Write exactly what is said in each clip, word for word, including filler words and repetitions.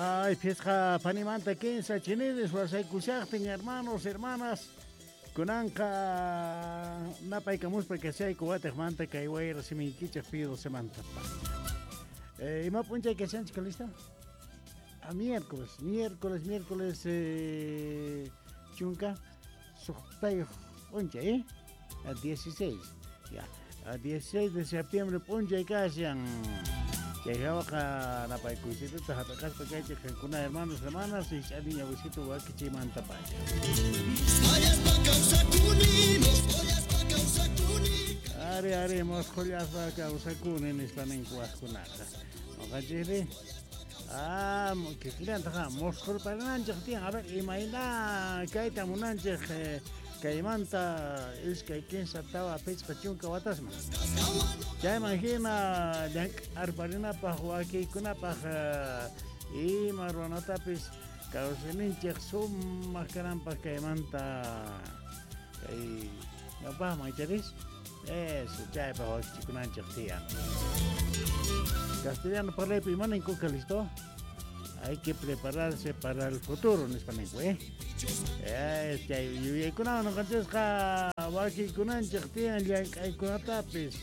Ay, phisqa panimanta kinsa chiniris wasaykushaqtin, hermanos, hermanas. Kunanqa napaykamuspa kashayku watiqmanta kay wayra simiykichik Pío docemanta pacha. Eh, ima p'unchay kashanchik, lista? A miércoles, miércoles, miércoles eh, chunka suqtayuq p'unchay, eh? A dieciséis, ya. A dieciséis de septiembre p'unchay kashan. Chay hawaqa napaykuysituta hap'iqaspa kaychik qankuna, hermanos, hermanas, rich'ariña wisitu wakichiymanta pacha. Ari, ari, mosqhullaspa kawsakuni nispa ninku wajkunaqa. Noqanchikri, ah, kikillantaqa mosqhurparinanchik tiyan. A ver, imayna kayta munanchik eh, kaymanta iskay kinsa tawa pichqa chunka watasman. Chayman hina llank'arparinapaq wakiykunapaq eh, ima ruwanatapis kawsayninchik sumaq kananpaq kaymanta kay ñawpaqman icharis. Eso, chaypaq wakichikunanchik tiyan. Castellano parlaypi ima ninku, listo? Hay que prepararse para el futuro, nispa ninku, eh? Eh, chay yuyaykunawan noqanchisqa wakiykunanchik tiyan llank'aykunatapis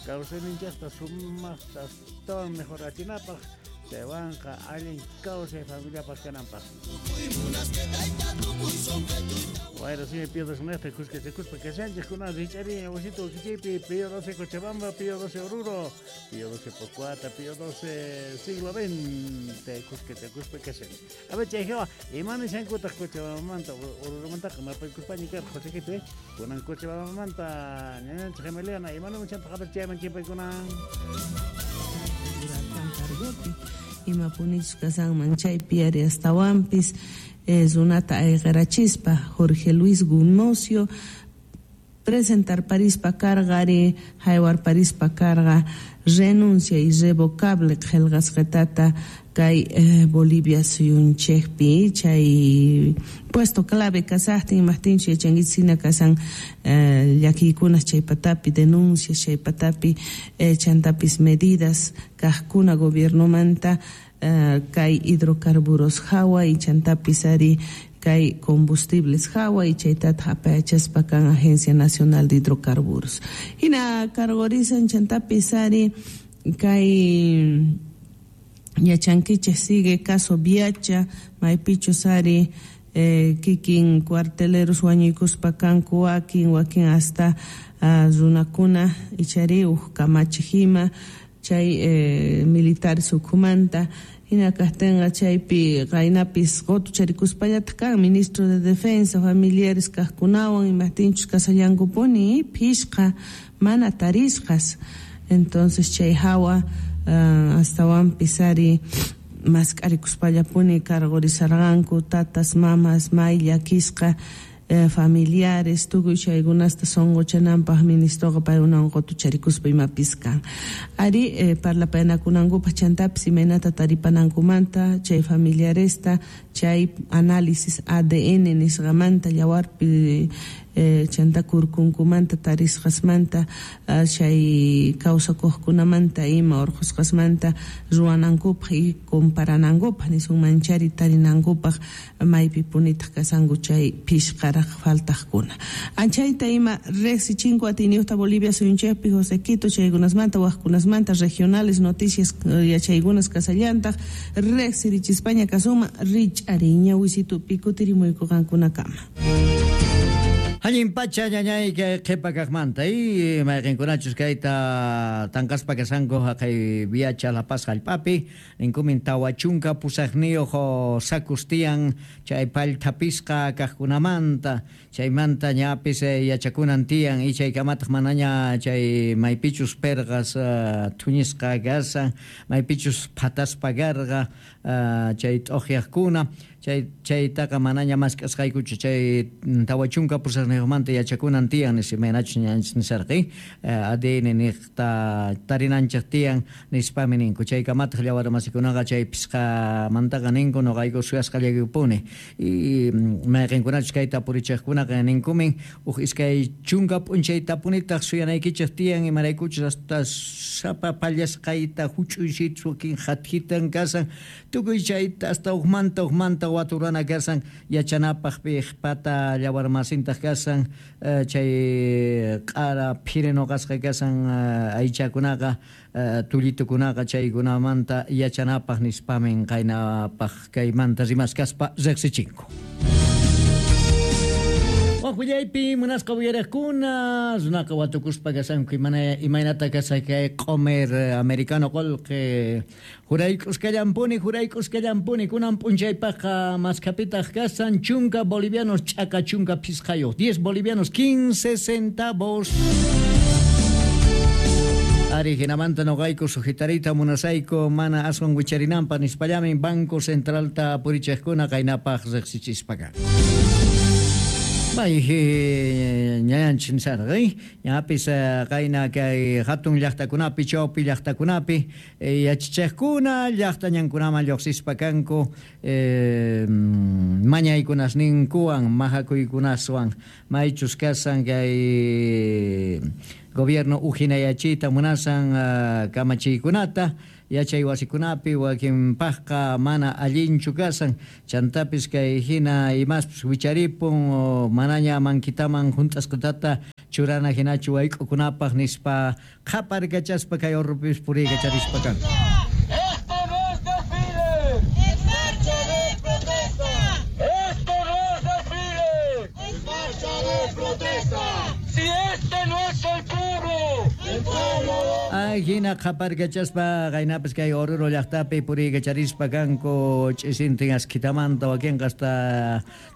kawsayninchikta sumaqta astawan mejorachinapaq, chaywanqa allin kawsay familiapaq kananpaq. Wayra simi Pío doce nejta kuskachakuspa kashanchik kunan rich'ariña wasito wakichiypi Pío doce Cochabamba, Pío doce Oruro, Pío doce Pocoata, Pío doce siglo veinte kuskachakuspa kashanchik. A ver, chay hawa, ima nishankutaq Cochabambamanta Oruromantaqa napaykuspaña karqa Josequito, eh? Kunan Cochabambamanta ñañanchik Emiliana, ima nimuchantaq a ver chayman chimpaykunan. Imapunichus kasanman chaypi ari astawanpis eh, runata ayqirachispa Jorge Luis Gumosio presentar parispa carga ari haywar parispa carga renuncia irrevocable qillqasqatata kay eh, Bolivia suyunchikpi chay puesto clave kasaqtin imaqtinchu yachankichik hina kasan eh, llakiykunas chay patapi denuncias chay patapi eh, chantapis medidas kaqkuna gobiernomanta eh, kay hidrocarburos hawa y chantapis ari kay combustibles hawa y chaytata apayachaspa kan Agencia Nacional de Hidrocarburos. Hina cargorizan chantapis ari kay yachankichik sigue caso Viacha, maypichus ari eh, kikin cuarteleros wañuykuspa kanku wakin wakin hasta uh, runakuna ichari uj kamachik ima chay eh, militares ukhumanta. Hina kaqtinqa chaypi qaynapis qutucharikuspallataq kan ministro de defensa familiares kaqkunawan imaqtinchus kasallankupuni phishqa mana tarisqas. Entonces chay hawa uh, astawanpis ari mask'arikuspallapuni cargorizarqanku tatas mamas may llakisqa eh, familiares tukuy chaykunasta sunquchananpaq ministroqa paykunawan qutucharikuspa imapis kan. Ari eh, parlapayanakunankupaq chantapis imaynata taripanankumanta chay familiaresta chay análisis A D N nisqamanta yawarpi eh, chanta kurkunkumanta tarisqasmanta uh, chay kawsakuqkunamanta ima urqusqasmanta ruwanankupaq y comparanankupaq nisunmanchari tarinankupaq maypi punitaq kasanku chay phishqaraq faltaqkuna. Anchayta ima riqsichinku atiyniyuqta Bolivia suyunchikpi José Quito chaykunasmanta waqkunasmanta regionales noticias yachaykunas kasallantaq riqsirichispaña kasuma rich'ariña wisitupi kutirimuyku qankunakama. Allin pacha ñañay kay qhipa kaqmanta y mayqinkunachus kayta tanqaspa kasanku haqay Viacha La Paz hallp'api ninkumin tawa chunka pusaqniyuq sakus tiyan chay pallthapisqa kaqkunamanta chaymanta ñapis yachakunan tiyan y chaykamataq manaña chay maypichus perqas thuñisqa kasan maypichus phataspa karqa chay t'uqyaqkuna chay chaytaqa manaña mask'asqaykuchu chay tawa chunka pusaqniyuq pusaqniyuqmanta yachakunan tiyan nispa imaynachus ñanchis nisarqi A D N niqta tarinanchik tiyan nispami ninku chaykamataq llawarmasikunaqa chay pisqamantaqa ninku noqayku suyasqallaykupuni y mayqinkunachus kayta purichiqkunaqa ninkumin uj iskay chunka p'unchaytapunitaq suyanaykichik tiyan imaraykuchus hasta sapa pallasqayta huch'uysitu wakin hathitan kasan tukuy chayta hasta ujmanta ujmanta waturana kasan yachanapaq piqpata llawarmasintaq kasan chay q'ara phirinoqasqa kasan aychakunaqa tullitukunaqa chaykunamanta yachanapaq nispamin qaynapaq kaymanta rimaskaspa riqsichinku. Waqwillaypi munasqa uyariqkuna runaqa watukuspa kasanku imana imaynata kasakay q'omer americano qullqi jurayk'uskallampuni jurayk'uskallampuni kunan p'unchaypaqqa maskapitaq kasan chunka bolivianos ch'aka chunka phisqayuq diez bolivianos quince centavos. Ari hinamanta noqayku sujetarita munasayku mana aswan wicharinanpaq nispallamin Banco Centralta purichiqkuna qaynapaq riqsichispaqa. Bay ñayanchik nisarqi ñapis qayna kay hatun llaqtakunapi chawpi llaqtakunapi yachachiqkuna llaqta ñankunaman lluqsispa kanku mañaykunasninkuwan mahakuykunaswan maychus kasan kay gobierno ujinayachiyta munasan kamachiykunata yachay wasikunapi wakinpaqqa mana allinchu kasan chantapis kay hina imaspis wicharipun manaña mankitaman hunt'asqatata churana hinachu wayk'ukunapaq nispa qhaparkachaspa kay urrupis puriykacharispa kan. Esto no es desfile, es marcha de protesta. Esto no es desfile, es marcha de protesta. Si este no es el pueblo, el pueblo. Ay, hina qhaparkachaspa qaynapis kay Oruro llaqtapi puriykacharispa kanku ch'isintin askitamanta wakinqa hasta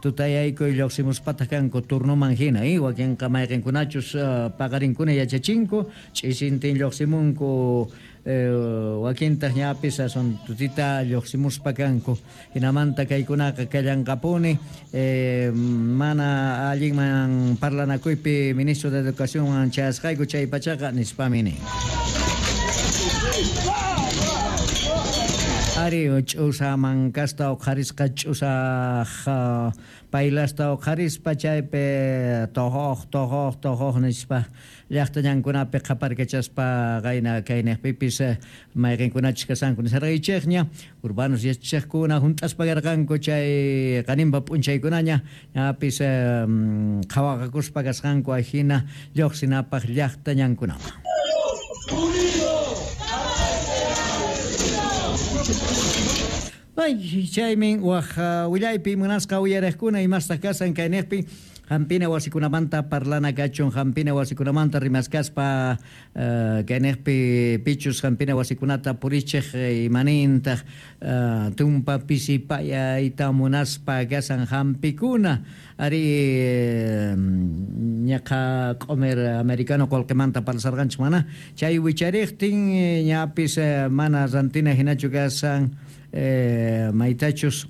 tutayaykuy lluqsimuspataq kanku turnuman hina y wakinqa mayqinkunachus paqarinkuna yachachinku ch'isintin lluqsimunku wakintaq ñapis asun tutita lluqsimuspa kanku hinamanta kaykunaqa kallanqapuni mana allinman parlanakuypi ministro de Educación chayasqayku chay pachaqa nispami nin. Ari ch'usa mankasta uqharisqa ch'usaq paylasta uqharispa chaypi tojoq tojoq tojoq nispa llaqta ñankunapi qhaparkachaspa qayna kayniqpipis mayqinkunachus kasanku nisarqaychikña urbanos yachachiqkuna hunt'aspa karqanku chay qaninpa p'unchaykunaña ñapis qhawaqakuspa kasqanku ajina lluqsinapaq llaqta ñankunaman. Ay, chaymin waj willaypi munasqa uyariqkuna imastaq kasan kayniqpi hampina wasikunamanta parlana kachun hampina wasikunamanta rimaskaspa kayniqpi pichus hampina wasikunata purichiq imanintaq tumpa pisipayayta munaspa kasan hampikuna ari ñaqa q'omer americano qullqimanta parlasarqanchik mana chay wichariqtin ñapis mana rantina hinachu kasan maytachus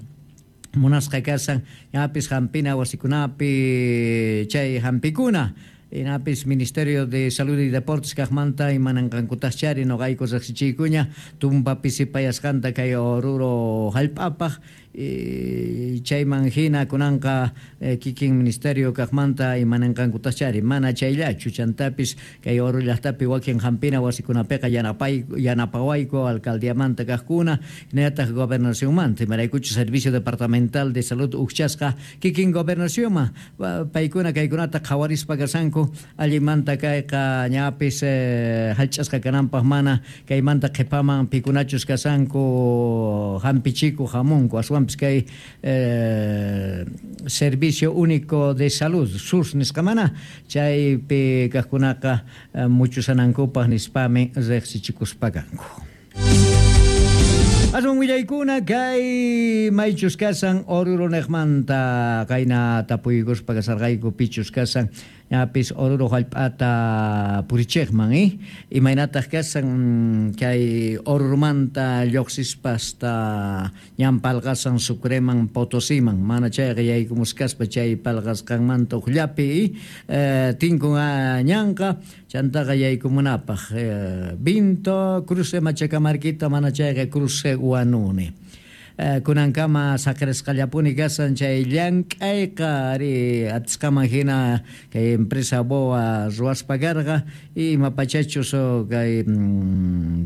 munasqa kasan ñapis hampina wasikunapi chay hampikuna inapis Ministerio de Salud y Deportes kaqmanta imananqankutaqchari noqayku riqsichiykuña tumpa pisipayasqanta kay Oruro hallp'apaq chayman hina kunanqa kikin Ministerio kaqmanta imananqankutaqchari mana chayllachu chantapis kay Oruro llaqtapi wakin hampina wasikunapiqa yanapay yanapawayku alcaldiamanta kaqkuna hinallataq gobernacionmanta imaraykuchu Servicio Departamental de Salud uqchasqa kikin gobernacionman paykuna kaykunata qhawarispa kasanku allimanta kayqa ñapis hallch'asqa kananpaq mana kaymanta qhipaman pikunachus kasanku hampichiku hamunku aswanpis kay eh, Servicio Único de Salud S U S nisqa mana chaypi kaqkunaqa muchusanankupaq nispami riqsichikuspa kanku. Aswan willaykuna kay maychus kasan Oruro nejmanta qayna tapuykuspa kasarqayku pichus kasan ñapis Oruro jallp'ata purichejman eh? Imaynataq kasan kay Orurumanta lluqsispasta ñan palqasan Sucreman Potosiman mana chayqa yaykumusqaspa chay palqasqanmanta uqllapi eh, tinkun ñanqa chantaqa yaykumunapaq eh, Vinto cruce Machacamarquita mana chayqa cruce Huanuni eh, kunankama saqrisqallapuni kasan chay llank'ayqa ari atisqaman hina kay empresa BOA ruwaspa karqa ima pachachus kay mm,